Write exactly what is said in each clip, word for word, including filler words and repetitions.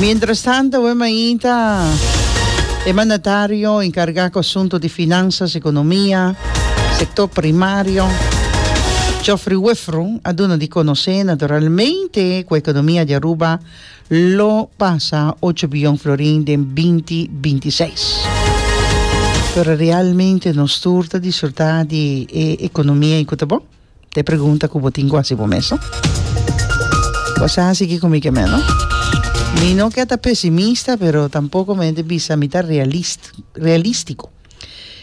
Mientras tanto, mainta, e mandatario encarga cu asunto di finanzas, economia, sector primario, Geoffrey Wever, a duna di conoce naturalmente cu e economia di Aruba lo pasa ocho biyon florin den binti bintiseis. Pero realmente nos tur ta disfruta di e economia cu ta bon? Ta e pregunta cu bo tin cu haci bo mes. Bo sa kico mi kiermen? Mi no kier ta pesimista, pero tampoco mi bisa mi ta realist, realistico.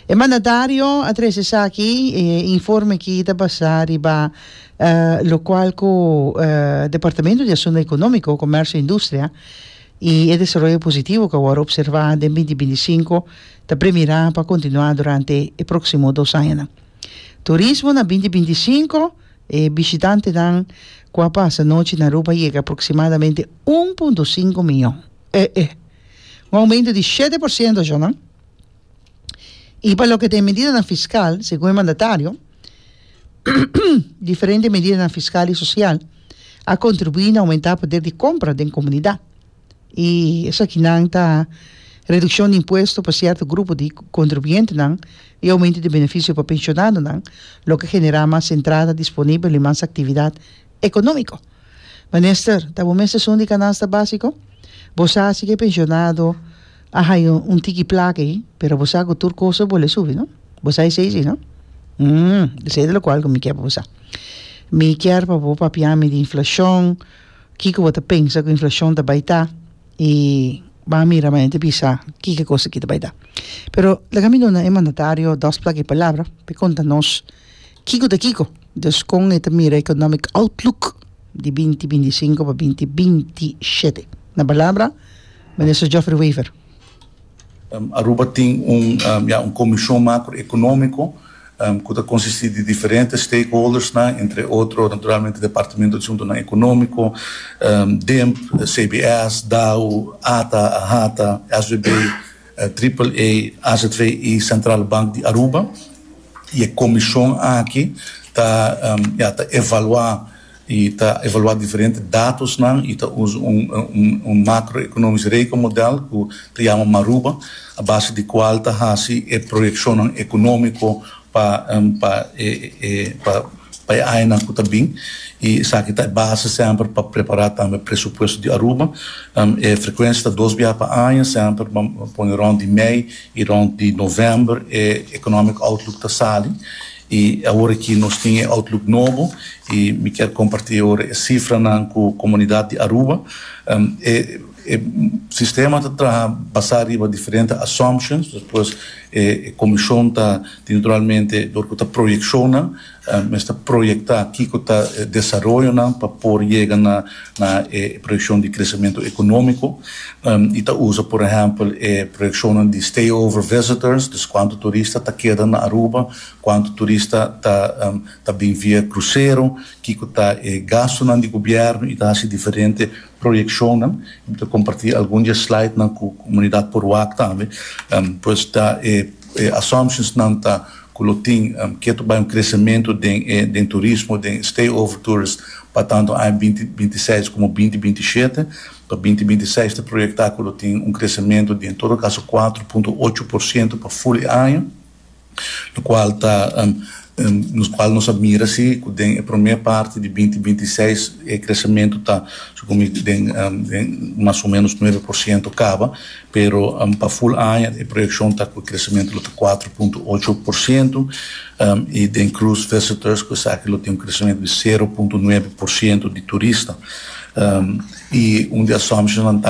E mandatario a trece aki eh, informe cu ta pasa riba uh, locual cu uh, Departamento di Asunto Economico, Comercio y Industria y e desaroyo positivo cu awor a observa den binti binticinco ta premira pa continua durante e proximo dos aña. Turismo na binti binticinco, e bishitantenan cu a pasa nochi na Aruba a yega aproximadamente un punto cinco miyon. Eh, eh. Un aumento di shete porciento ya, no? Y pa loke ta medida fiscal, segun e mandatario, diferente medida fiscal y social a contribui na aumenta e poder di compra di comunidad. Y esaki ta reduccion di impuesto pa cierto grupo di contribuyente y aumento di beneficio pa pensionado, loke ta genera mas entrada disponibel y mas actividad economico. Minister, ta bo mes esun di canasta basico? Bo sa cu pensionado a haya un tiki placa ey, pero bo sa cu tur cos a bolbe subi, no? Bo sa esey, no? Hum, esey ta locual cu mi kier pa bo. Mi kier pa bo papia mi di inflacion, kico bo ta pensa cu inflacion ta bay ta y ban mira mas bisa kico cos cu ta bay ta. Pero laga mi duna e mandatario dos placa palabra pa conta nos kico ta kico. Dus con e ta mira economic outlook di binti binticinco pa binti bintisiete. Na palabra, Minister Geoffrey Wever. Um, Aruba tin un, um, ja, un comision macroeconomico um, cu ta consisti di diferente stakeholders, né, entre otro, naturalmente, Departamento di Asunto Economico, um, D E M P, C B S, D A O, A T A, AHATA, S W B, uh, A A A, A Z V y Centrale Bank di Aruba. Y e comision aki ta um, ja, ta evalua y ta evalua diferente datonan y ta usa un, un, un macroeconomisch rekenmodel cu ta yama Maruba, a base di cual ta haci e proyeccion economico pa um, pa e, e, pa pa e aña cu ta bin y esaki ta base semper pa prepara tambe presupuesto di Aruba. Um, e frecuencia ta dos biaha pa aña, semper pone rond di mei y rond di november e economic outlook ta sali. Y awor aki nos tin outlook nobo y mi kier comparti awor e cifranan cu e comunidad di Aruba. Um, e, e sistema ta basa riba diferente assumptions, despues e comision ta naturalmente door cu ta proyeccion, um, ta proyecta kico ta desaroyo pa por yega na na e proyeccion di crecemento economico um, y ta usa, por ehempel, e proyeccion di stay-over visitors, dus cuanto turista ta keda na Aruba, cuanto turista ta um, ta bin via crucero, kico ta e gasto di gobierno y ta diferente proyeccion. Ta comparti algun di slide nan cu e comunidad por wak tambe. Um, pues ta e, e assumptions nan ta cu lo tin um, cu ta un crecemento di, di turismo, di stay-over tourists, pa tanto aña binti bintiseis como binti bintisiete. Pa binti bintiseis ta proyecta cu tin un crecemento di, en todo caso, cuater punto ocho porciento pa full aña, locual ta um, um, nos cual nos a mira si den e prome parti di binti bintiseis e crecemento ta den, um, den mas o menos nuebe porciento caba, pero um, pa full aña e proyeccion ta cu e crecemento ta cuater punto ocho porciento um, y den cruise visitors cu esaki tin un crecemento di sero punto nuebe porciento di turista um, y un di assumption tambe.